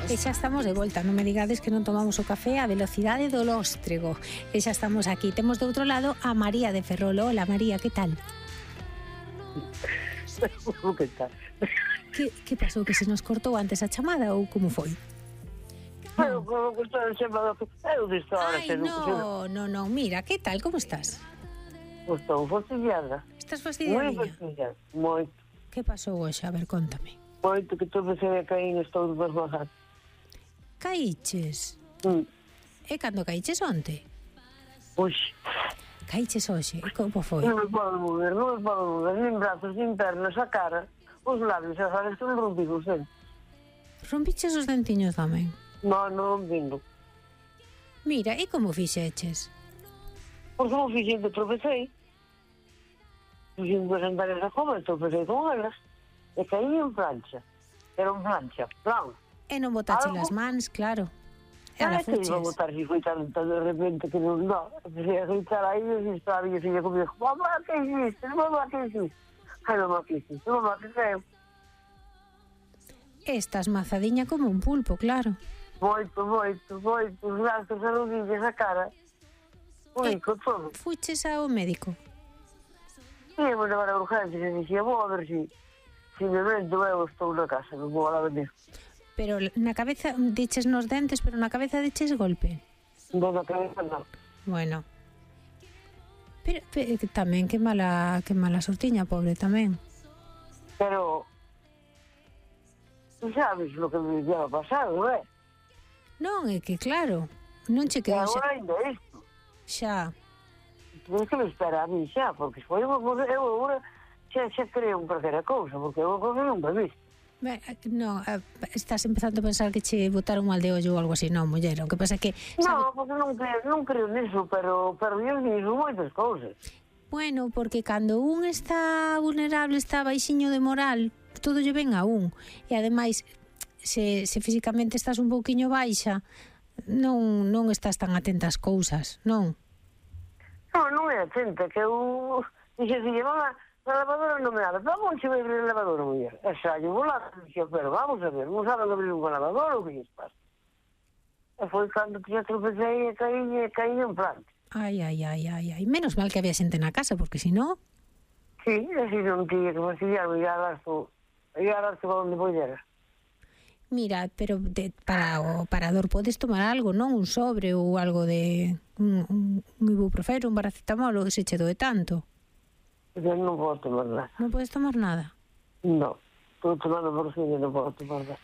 E xa estamos de volta, non me digades que non tomamos o café a velocidade do lóstrego. E xa estamos aquí. Temos do outro lado a María de Ferrol. Hola María, que tal? Que tal? Que pasou? Que se nos cortou antes a chamada ou como foi? Pero como que estou chamado... Eu disto ahora... Ai, non, mira, que tal? Como estás? Estou fastidiada. Estás Moi fastidiadinha? fastidiada. Moito. Que pasou hoxe? A ver, contame. Moito que estou pensando a cair estou desbarrajado. Caíches? E cando caíches onte? Uxe. Caíches hoxe? E como foi? Non me podo mover, nin brazos, nin pernas, a cara, os labios, xa sabes que non rompidos, Rompiches os dentiños tamén? Non vindo. Mira, e como fixeches? Porque non fixen que tropecei. Fixen que sentar esa coma e tropecei con elas. E caí en plancha. Era un plancha, plan. E non botache as mans, claro. E ala Que iba a fuches. botar si foi tan de repente que non dá. Empecé a gritar aí e estaba a minha filha comigo. Mamá, que hiciste? Mamá, que hiciste? Ai, mamá, que hiciste? Mamá, que feo. Estás mazadiña como un pulpo, claro. Moito, os brazos, as rodillas, a cara. Único, todo. Fuches ao médico. E vou levar a urgencias e dixía, vou a ver si me vendo, eu estou na casa, non vou a venir. Pero na cabeza diches nos dentes, pero na cabeza diches golpe. Non na cabeza, non. Bueno. Pero tamén que mala sortiña, pobre, tamén. Pero, tú sabes lo que me lleva pasado, non é? Non, é que claro, non che E quedou agora ainda isto. xa. Tens que me espera a mí xa, porque foi unha cosa, eu agora xa creo en perder a cousa, porque é unha cosa non me visto. Non, estás empezando a pensar que che botaron mal de ollo ou algo así, non, muller, o que pasa é que... Non, porque non creo niso, pero eu niso moitas cousas. Bueno, porque cando un está vulnerable, está baixiño de moral, todo lle ven a un. E ademais, se físicamente estás un pouquiño baixa, non estás tan atenta ás cousas, non? Non é atenta, que eu... Dixe, mamá, a lavadora non me abre. Vamos a abrir a lavadora, muller. E xa, eu vou lá, dixe, pero vamos a ver, non saben abrir unha lavadora ou que lles pasa? E foi cando que xa tropecei e caí en planta. Ai. Menos mal que había xente na casa, porque si no... Sí, así non tiña que fastidiarme, ia a darse onde poidera. Mira, pero para o parador podes tomar algo, non? Un sobre ou algo de... un ibuprofeno, un paracetamol, ou se che doe tanto. Eu non podo tomar nada. Non podes tomar nada? Non, estou tomando morfina e non podo tomar nada.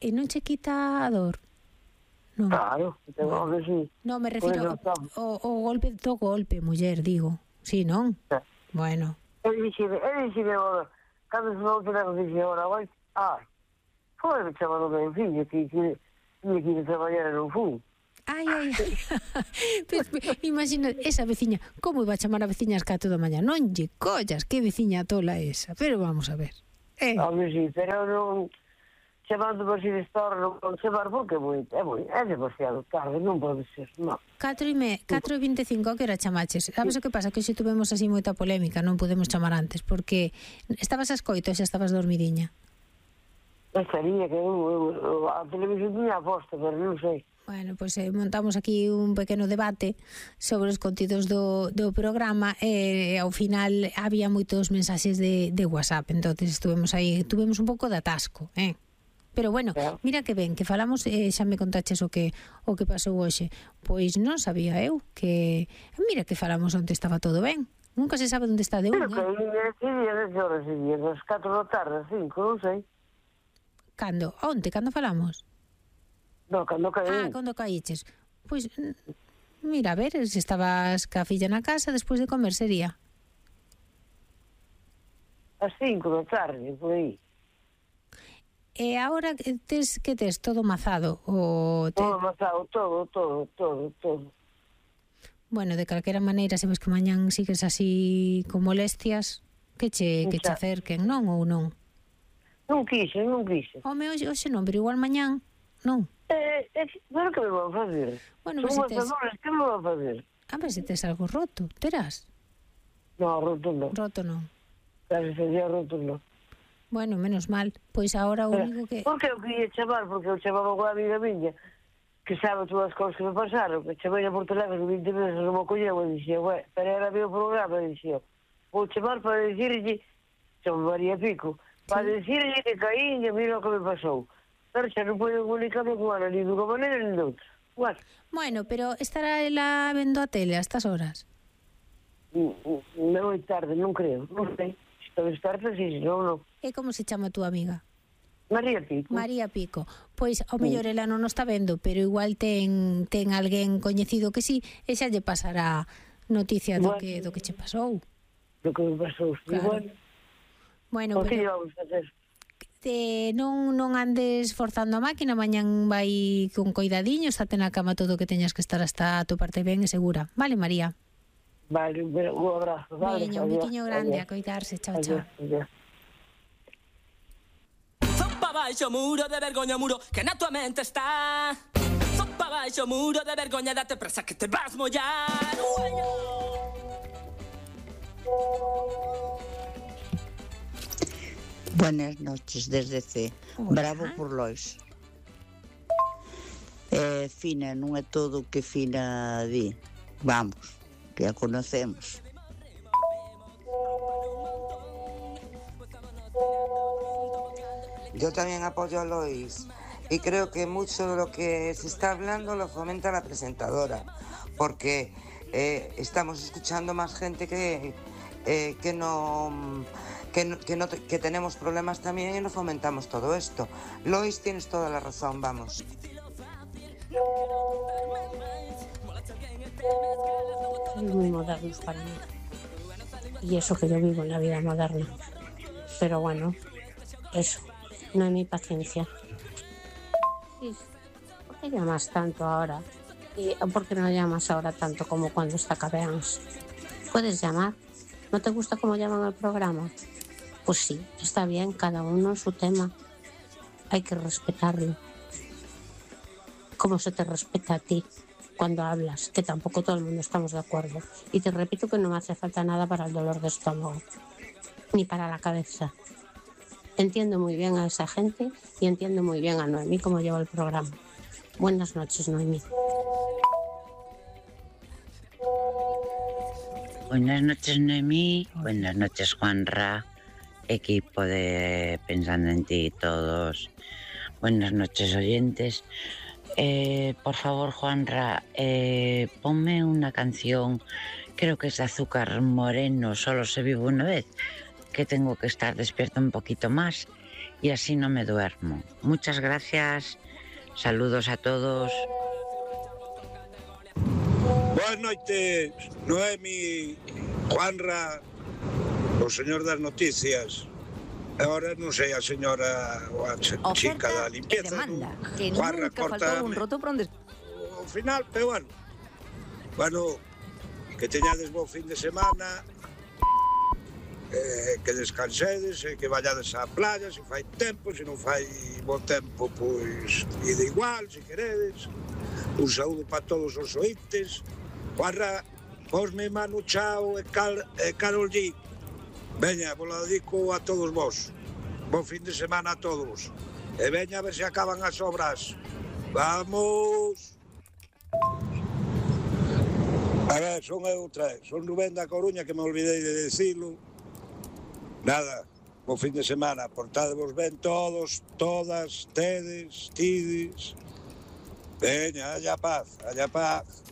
E non che quita a dor? Non. Claro, tengo que sí. Non, me refiro o golpe do golpe, muller, digo. Sí, non? Sí. Bueno. Ele dixe agora, cando se volta a dixe agora, ai, foi me chamando meu filho, que tinha que ir a trabalhar no fundo. Ai. Imagina, esa veciña, como iba a chamar a veciña ás 4 da mañá? Non lle collas, que veciña tola esa. Pero vamos a ver. Hombre, sí, pero non... Chamando por si de estor, non podo chamar porque é demasiado tarde, non pode ser, non. 4:25, que era chamaches? Sabes o que pasa? Que hoxe tuvemos así moita polémica, non podemos chamar antes, porque estabas a escoito, xa estabas dormidiña. Estaría que a televisión tiña aposta, pero non sei. Bueno, pois montamos aquí un pequeno debate sobre os contidos do programa e ao final había moitos mensaxes de WhatsApp, entonces tuvemos un pouco de atasco, Pero bueno, mira que ben, que falamos, xa me contaches o que pasou hoxe. Pois non sabía eu que... Mira que falamos onde estaba todo ben. Nunca se sabe onde está de un, Pero que días de horas e días, das 4 da tarde, 5, non sei. Cando? Onte? Cando falamos? Non, cando caí. Cando caíches. Pois, mira, a ver, se estabas ca filla na casa, despois de comer sería. As 5 da tarde, por aí. E agora tes todo mazado? Todo mazado, todo. Bueno, de calquera maneira, se ves que mañán sigues así con molestias, que che acerquen, non ou non? Non quixen. Home, hoxe non, pero igual mañán, non? Pero que me vou fazer? Bueno, son matadores, que me vou fazer? A ver se tes algo roto, terás? Non, roto non. Roto non. Casi sería roto non. Bueno, menos mal. Pois agora o único que... Porque eu queria chamar, porque eu chamaba con a amiga miña, que sabe todas as cousas que me pasaron, que chamei por teléfono 20 veces, non me colleu, e dixía, pero era meu programa, e dixía, vou chamar para dicirlle, chamo María Pico, para dicirlle que caí e mira o que me pasou. Pero xa non podo comunicarme con ela, ni dunha maneira, ni doutra. Bueno, pero estará ela vendo a tele a estas horas? Non é tarde, non creo, non sei. Se talvez tarde, si, non, non. E como se chama a túa amiga? María Pico. María Pico. Pois, ao mellor ela non o está vendo, pero igual ten alguén coñecido que sí, e xa lle pasará noticia do que che pasou. Do que me pasou, claro. Bueno, por que vamos a hacer? Non andes forzando a máquina, mañán vai con coidadiño, estate na cama todo o que teñas que estar hasta a tu parte ben e segura. Vale, María? Vale, un abrazo. Vale, un biquiño grande, a coidarse. Chao, chao. Zoppa baixo muro de vergoña, muro que na tua mente está. Zoppa baixo muro de vergoña, date presa que te vas mollar. Buenas noches desde C. Hola. Bravo por Lois. Fina, non é todo o que Fina di. Vamos, que a conocemos. Yo también apoyo a Lois y creo que mucho de lo que se está hablando lo fomenta la presentadora, porque estamos escuchando más gente que tenemos problemas también y no fomentamos todo esto. Lois, tienes toda la razón, vamos. Son muy modernos para mí. Y eso que yo vivo en la vida moderna. Pero bueno, eso, no hay mi paciencia. ¿Por qué llamas tanto ahora? ¿Y por qué no llamas ahora tanto como cuando está Cabeans? ¿Puedes llamar? ¿No te gusta cómo llaman el programa? Pues sí, está bien, cada uno su tema. Hay que respetarlo. Como se te respeta a ti cuando hablas, que tampoco todo el mundo estamos de acuerdo. Y te repito que no me hace falta nada para el dolor de estómago, ni para la cabeza. Entiendo muy bien a esa gente y entiendo muy bien a Noemí cómo lleva el programa. Buenas noches, Noemí. Buenas noches, Noemí. Buenas noches, Juanra. Equipo de Pensando en Ti todos. Buenas noches, oyentes. Por favor, Juanra, ponme una canción, creo que es de Azúcar Moreno, Solo se vive una vez, que tengo que estar despierta un poquito más y así no me duermo. Muchas gracias, saludos a todos. Boas noites, Noemi, Juanra, o señor das noticias. Ahora non sei a señora ou a chica da limpieza. Demanda, que Juanra, nunca faltou un roto por onde... Ao final, pero bueno, que teñades bo fin de semana, que descansedes, que vallades á playa, se fai tempo, se non fai bo tempo, pois ide igual, se queredes. Un saúdo para todos os ointes. Juanra, posme Manu Chao e Carol G. Veña, vos la dedico a todos vos. Bon fin de semana a todos. E veña a ver se acaban as obras. Vamos! A ver, son eu outra vez. Son Rubén da Coruña, que me olvidei de decirlo. Nada, bon fin de semana. Portadevos ben todos, todas, tedes, tides. Veña, haya paz, haya paz.